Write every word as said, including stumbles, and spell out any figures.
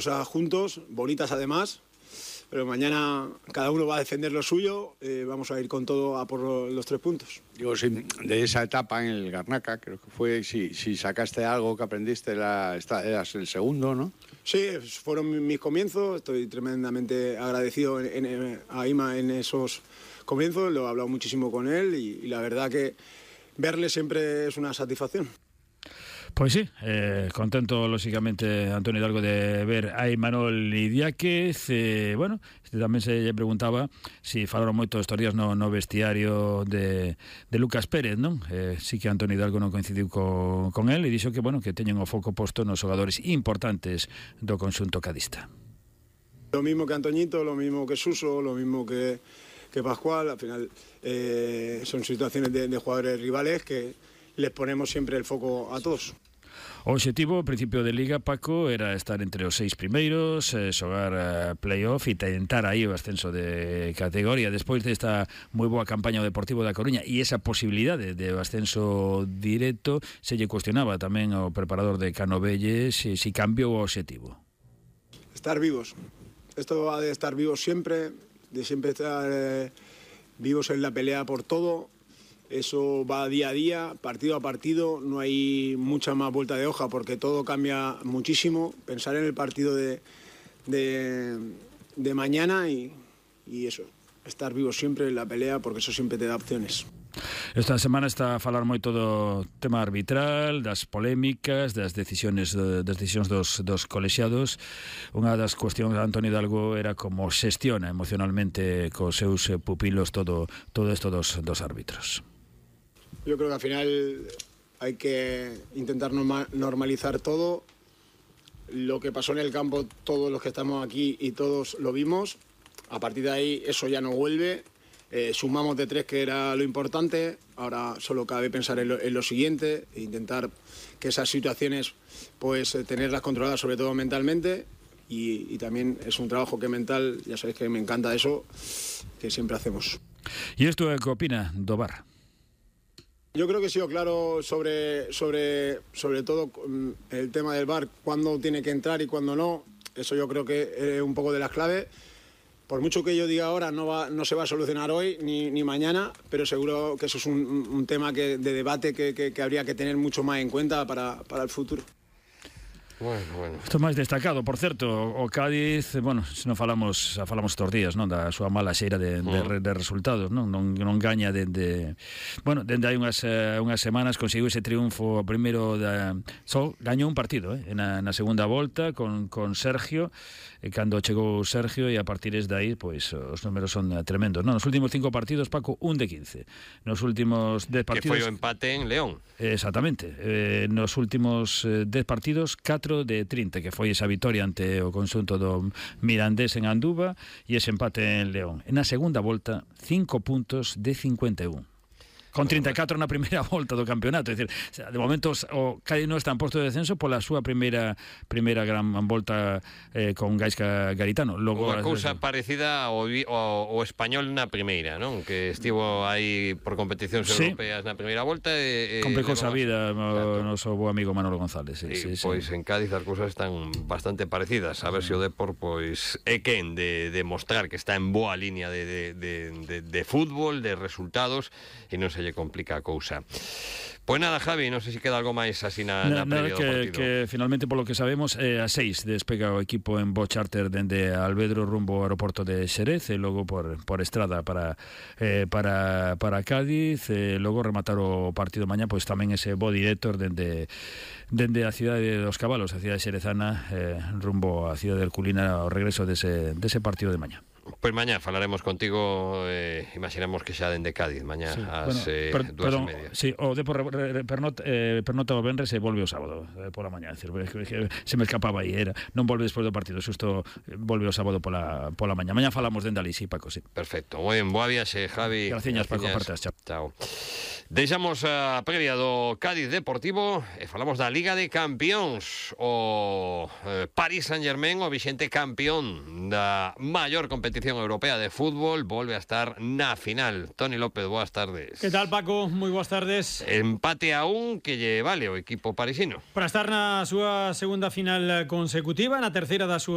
Cosas juntos, bonitas además, pero mañana cada uno va a defender lo suyo, eh, vamos a ir con todo a por los tres puntos. Digo, si de esa etapa en el Garnaca, creo que fue, si, si sacaste algo que aprendiste, la, esta, eras el segundo, ¿no? Sí, fueron mis comienzos, estoy tremendamente agradecido en, en, a Ima en esos comienzos, lo he hablado muchísimo con él y, y la verdad que verle siempre es una satisfacción. Pois sí, eh, contento lóxicamente Antonio Hidalgo de ver a Imanol Idiáquez. eh, bueno, este tamén se lle preguntaba si falaron moito estos días no, no vestiario de, de Lucas Pérez, non? Eh, sí que Antonio Hidalgo non coincidiu co, con él e dixo que, bueno, que teñen o foco posto nos xogadores importantes do conxunto cadista. Lo mismo que Antoñito, lo mismo que Suso, lo mismo que, que Pascual, al final eh, son situaciones de, de jugadores rivales que les ponemos siempre el foco a todos. O obxectivo, principio de Liga, Paco, era estar entre os seis primeiros, eh, xogar eh, play-off e tentar aí o ascenso de categoría. Despois desta moi boa campaña o Deportivo da Coruña e esa posibilidade de ascenso directo, se lle cuestionaba tamén ao preparador de Canovelles si, si cambiou o obxectivo. Estar vivos. Esto va de estar vivos siempre, de siempre estar eh, vivos en la pelea por todo. Eso va día a día, partido a partido, no hay mucha más vuelta de hoja porque todo cambia muchísimo. Pensar en el partido de, de, de mañana y, y eso, estar vivo siempre en la pelea porque eso siempre te da opciones. Esta semana está a falar moito do tema arbitral, das polémicas, das decisiones das decisións dos, dos colexiados. Unha das cuestións de Antonio Hidalgo era como xestiona emocionalmente cos seus pupilos todo todo isto dos, dos árbitros. Yo creo que al final hay que intentar norma normalizar todo. Lo que pasó en el campo, todos los que estamos aquí y todos lo vimos. A partir de ahí eso ya no vuelve. Eh, sumamos de tres, que era lo importante. Ahora solo cabe pensar en lo, en lo siguiente e intentar que esas situaciones pues eh, tenerlas controladas, sobre todo mentalmente. Y, y también es un trabajo que mental, ya sabéis que me encanta eso, que siempre hacemos. ¿Y esto qué opina do V A R? Yo creo que he sido claro sobre, sobre, sobre todo el tema del V A R, cuándo tiene que entrar y cuándo no. Eso yo creo que es un poco de las claves. Por mucho que yo diga ahora, no, va, no se va a solucionar hoy ni, ni mañana, pero seguro que eso es un, un tema que, de debate que, que, que habría que tener mucho más en cuenta para, para el futuro. Bueno, bueno. Isto máis destacado, por certo, o Cádiz, bueno, se non falamos, xa falamos estos días, non, da súa mala xeira de, de, de resultados, non, non, non gaña dende, bueno, dende hai unhas, unhas semanas conseguiu ese triunfo primeiro da, só gañou un partido, eh, na, na segunda volta con, con Sergio, e cando chegou Sergio e a partir de aí, pois, os números son tremendos, non, nos últimos cinco partidos, Paco, un de quince, nos últimos dez partidos... Que foi o empate en León. Exactamente, eh, nos últimos dez partidos, catro de trinta, que foi esa vitoria ante o conxunto do Mirandés en Anduva e ese empate en León. En a segunda volta, cinco puntos de cincuenta e un. Con trinta e catro na primeira volta do campeonato, é dicir, de momento o Cádiz non está en posto de descenso pola súa primeira primeira gran volta eh, con Gaisca Garitano. Logo unha cousa parecida ao, ao, ao Español na primeira, non? Que estivo aí por competicións sí. europeas na primeira volta e, e complicou a vida o noso bo amigo Manolo González. Sí, sí, sí, pois sí. En Cádiz as cousas están bastante parecidas. A ver se o Depor pois é quen de, de mostrar que está en boa línea de, de, de, de, de fútbol, de resultados, e non se lle complica a cousa. Pois nada, Javi, non sei se queda algo máis así na, na, na previa do que, partido. Que finalmente, polo que sabemos, eh, a seis despega o equipo en Bo Charter dende Alvedro rumbo ao aeroporto de Xerez e logo por, por estrada para eh, para, para Cádiz e logo rematar o partido mañá, pois tamén ese bo director dende, dende a cidade dos Cabalos, a cidade xerezana, eh, rumbo a cidade del Culina ao regreso dese, dese partido de mañá. Pois mañá falaremos contigo, eh, imaginamos que xa dende Cádiz, mañá sí. ás bueno, eh, per, dúas perdón, e media. Sí, o Depor pernota, eh, pernota o venres e volve o sábado eh, pola mañá, decir, se me escapaba aí, era, non volve despois do partido, xusto volve o sábado pola, pola mañá. Mañá falamos dende ali, sí, Paco, sí. Perfecto, moi ben, boa viaxe, Javi. Graciñas, Paco, partas, chao. Chao. Deixamos a previa do Cádiz Deportivo e falamos da Liga de Campións. O eh, Paris Saint-Germain, o vixente campeón da maior competición europea de fútbol, volve a estar na final. Toni López, boas tardes. Que tal, Paco? Moi boas tardes. Empate a un que lle vale o equipo parisino. Para estar na súa segunda final consecutiva, na terceira da súa